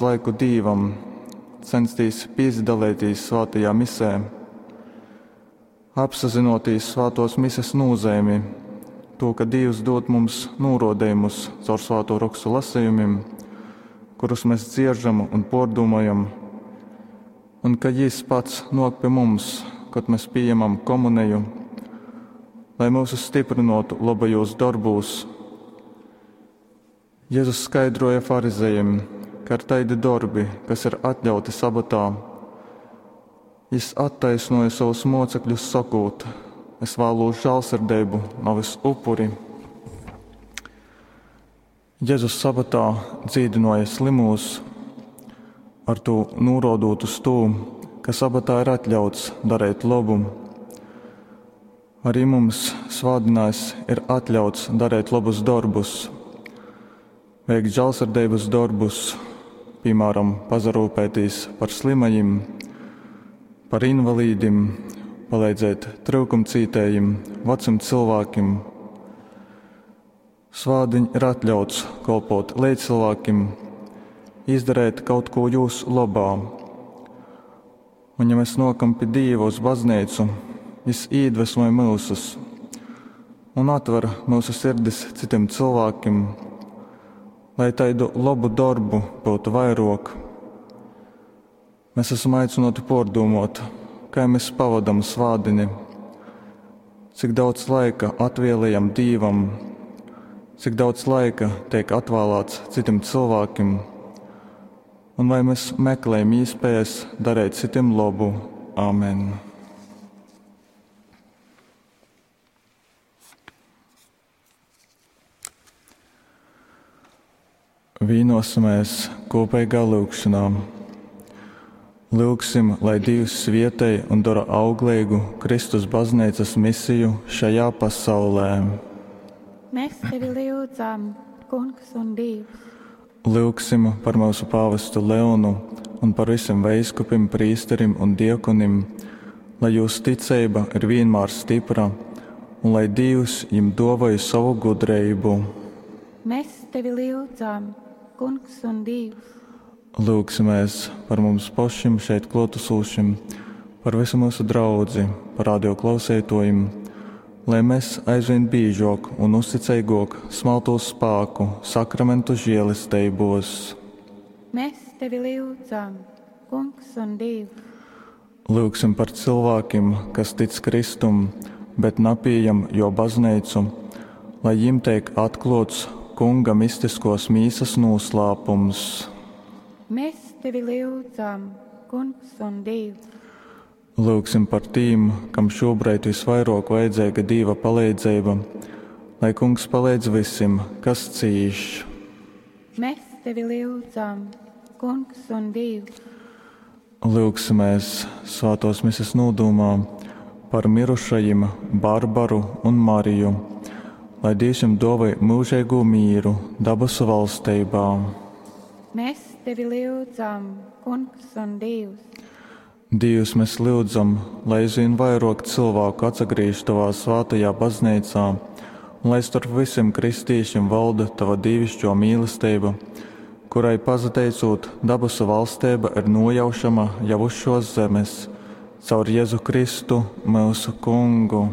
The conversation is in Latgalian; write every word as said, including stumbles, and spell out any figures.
Laiku Dīvam, censties pīsadalēties svētajā misē, apsazinoties svētos mises nozīmi, to, ka Dievs dod mums nūrodējumus caur svēto rakstu lasījumiem, kurus mēs dzieržam un pārdomājam, un ka Jis pats nok pie mums, kad mēs pieņemam komuniju, lai mūsu stiprinotu labajos darbūs. Jēzus skaidroja farizejiem, ka ir taidi darbi, kas ir atļauti sabatā. Jis attaisnoja savus mocekļus sakot: es vēlos žēlsirdību, nevis upuri. Jēzus sabatā dzīdināja slimos, ar to norodot uz to, ka sabatā ir atļauts darīt labu. Arī mums svētdienās ir atļauts darīt labus darbus, veikt žēlsirdības darbus, piemēram, pazarūpēties par slimajiem, par invalīdim, palīdzēt trūkumcītējiem, vecam cilvēkiem. Svādiņ ir atļauts kalpot līdzcilvēkiem, izdarīt kaut ko jūsu labā. Un ja mēs nokam pie Dieva uz baznīcu, Jis iedvesmoja mūsus un atver mūsu sirdis citiem cilvēkiem, lai taidu labu darbu būtu vairāk. Mēs esam aicināti pārdomāt, kā mēs pavadam svādini, cik daudz laika atvēlējam Dievam, cik daudz laika tiek atvēlēts citiem cilvēkiem, un vai mēs meklējam iespējas darīt citiem labu. Āmen! Vīnosimies kopīgā lūgšanā. Lūgsim, lai Dievs svietej un dara auglīgu Kristus baznīcas misiju šajā pasaulē. Mēs tevi lūdzam, Kungs un Dievs. Lūgsim par mūsu pāvestu Leonu un par visiem veiskupim, prīsterim un diekonim, lai jūsu ticība ir vienmēr stipra un lai Dievs jim dāvāja savu gudrību. Mēs tevi lūdzam, Kungs un Dievs. Lūgsimies par mums pašiem šeit klātesošiem, par visu mūsu draudzi, par radio klausētojiem, lai mēs aizvien biežāk un uzticīgāk smeltos spēku sakramentu žēlestībos. Mēs tevi lūdzam, Kungs un Dievs. Lūgsim par cilvēkiem, kas tic Kristum, bet napījam jo baznīcu, lai jim tiek atklots Kunga mistiskos mīsas noslēpums. Mēs tevi lūdzam, Kungs un Dievs. Lūgsim par tīm, kam šobrīd visvairāk vajadzīga Dieva palīdzība, lai Kungs palīdz visiem, kas cīš. Mēs tevi lūdzam, Kungs un Dievs. Lūgsimies svētos mises nodomā par mirušajiem Barbaru un Mariju, lai Dievs jums dāvāj mūžīgo mīru dabasu valstībā. Mēs tevi lūdzam, Kungs un Dievs. Dievs, mēs lūdzam, lai aizvien vairāk cilvēku atsagriež tavā svētajā baznīcā, un lai starp visiem kristīšiem valda tava dievišķo mīlestība, kurai pazateicot dabasu valstība ir nojaušama jau uz šos zemes, caur Jēzu Kristu, mūsu Kungu.